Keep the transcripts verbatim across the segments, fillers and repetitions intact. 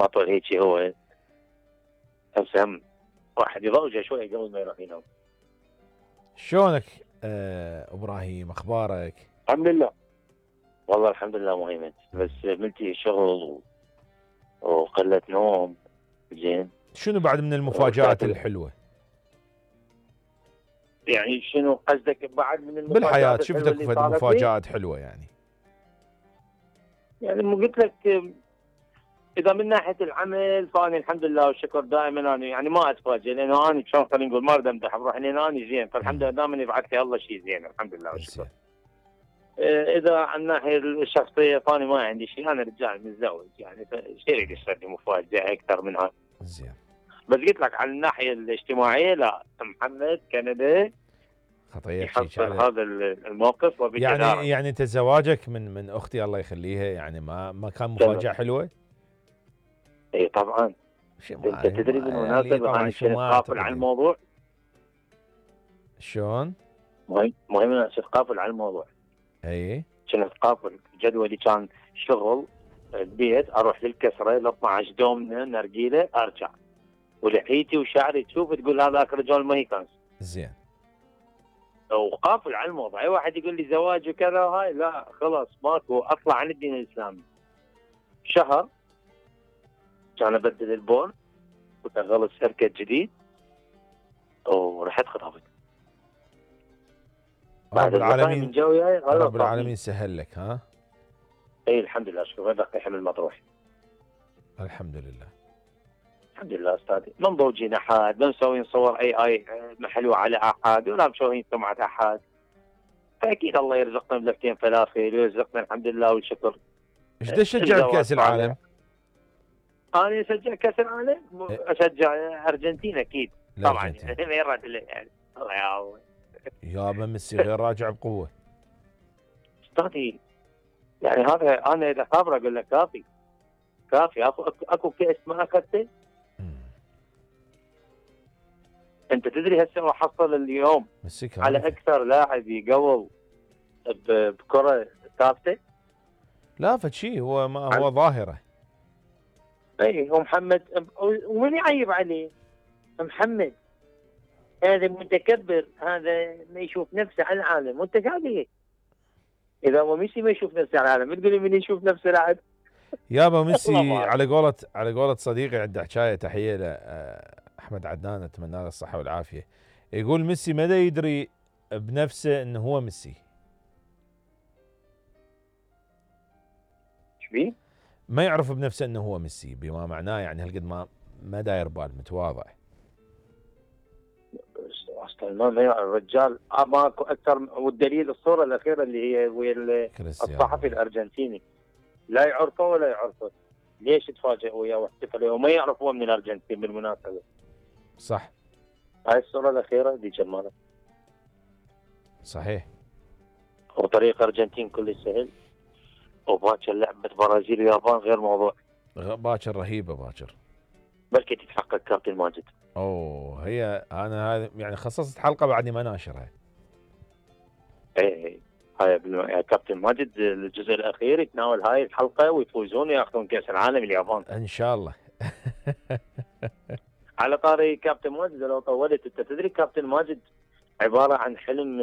ما طول هيك هو هسه هم واحد يضوجه شوي قبل ما يروح ينام. شلونك آه ابراهيم، اخبارك؟ الحمد لله والله الحمد لله مهيمن، بس ملتي شغل وقلة نوم. زين شنو بعد من المفاجآت الحلوة؟ يعني شنو قصدك بعد من المفاجآت بالحياة؟ الحلوة شفتك اللي فد صارت لي؟ مفاجآت حلوة يعني؟ يعني مو قلت لك اذا من ناحيه العمل فاني الحمد لله والشكر دائما انا يعني ما اتفاجئ، لانه انا شلون خلينا نقول ما اريد امدح بروحي، لان انا زين، فالحمد لله دائما يبعث لي الله شيء زين الحمد لله والشكر. اذا عن الناحيه الشخصيه فاني ما عندي شيء، انا رجال متزوج يعني فشي يريد يصير لي مفاجاه اكثر من هذا. زين. بس قلت لك على الناحيه الاجتماعيه لا، محمد كندا خطير يحصل هذا الموقف وبجدارة. يعني يعني انت زواجك من من اختي الله يخليها يعني ما ما كان مفاجاه حلوه؟ اي طبعا. انت تدري بالمناسبه انا كنت قافل على الموضوع. شلون؟ مهم مهم انا كنت قافل على الموضوع. اي كنت قافل، جدولي كان شغل البيت، اروح للكسره ل اثني عشر دومنا نرجيله ارجع، ولحيتي وشعري تشوف تقول هذاك رجال ما يكنس. زين. وقافل على الموضوع، اي واحد يقول لي زواج وكذا هاي لا خلاص ماكو، اطلع عن الدين الاسلامي. شهر كان ابدل البون وشغل السيركت جديد ورحت خطبت. رب العالمين من جوي رب العالمين سهل لك. ها اي الحمد لله، شوف هذا حمل مطروح الحمد لله الحمد لله استاذي. ما مضوجين احد، ما مسوين صور اي اي محلوه على احد، ولا مسوين سمعه احد، فاكيد الله يرزقنا بلفتين فلافل ويرزقنا الحمد لله والشكر. ايش دا تشجع بكاس العالم؟ انا اشجع كاس العالم، اشجع ارجنتين اكيد طبعا يعني الله يعوض. يابا ميسي غير راجع بقوه استاذي، يعني هذا انا اذا خابر اقول لك كافي كافي. اكو اكو كاس ما اخذته. انت تدري هسه راح حصل اليوم على اكثر لاعب يقول بكره ثابته. لا فشي هو ما هو ظاهره. اي هو محمد، ومن يعيب عليه؟ محمد هذا متكبر، هذا ما يشوف نفسه على العالم، وانت قاعد اذا هو ميسي ما يشوف نفسه على العالم تقول لي من يشوف نفسه لاعب؟ يابا ميسي على قولة على قولة صديقي عنده حكايه، تحيه له احمد عدنان اتمنى له الصحه والعافيه، يقول ميسي ما يدري بنفسه انه هو ميسي. ايش بيه؟ ما يعرف بنفسه انه هو ميسي، بما معناه يعني هالقد ما ما داير بال، متواضع. اصلا ما يعرف الرجال ماكو اكثر، والدليل الصوره الاخيره اللي هي ويا الصحفي الارجنتيني، لا يعرفه ولا يعرفه. ليش تفاجئ وياه واحتفل وما يعرف هو من الارجنتين بالمناسبه؟ صح. هاي الصوره الاخيره دي جماله. صحيح. وطريق ارجنتين كل سهل، وباكر لعبه برازيل ويابان غير موضوع. باكر رهيبه باكر. بلكي تتحقق كابتن ماجد. اوه هي انا هذا يعني خصصت حلقه بعدني ما ناشرها. ايه هاي كابتن ماجد الجزء الاخير يتناول هاي الحلقه ويفوزون وياخذون كاس العالم اليابان ان شاء الله. على طاري كابتن ماجد لو طولت، انت تدري كابتن ماجد عباره عن حلم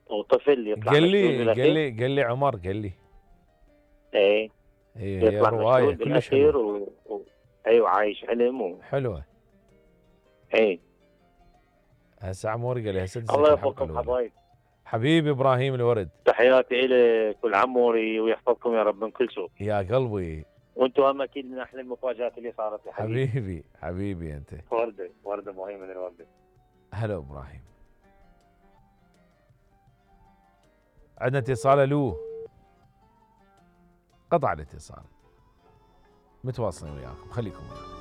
وطفل يطلع قال لي قال لي قال لي عمر قال لي ايه هي يطلع روايه كلش حلوه و... و... ايوه عايش حلم و... حلوه. ايه هسه عمور قال لي هسه الله يوفقكم حبايب. حبيبي ابراهيم الورد، تحياتي لك ولعموري ويحفظكم يا رب من كل سوء. يا قلبي. وانتم هم اكيد من احلى المفاجات اللي صارت لي حبيبي. حبيبي حبيبي انت. ورده ورده مهمه من الورده. هلا ابراهيم. عندنا اتصال. الو. قطع الاتصال. متواصلين وياكم، خليكم وياكم.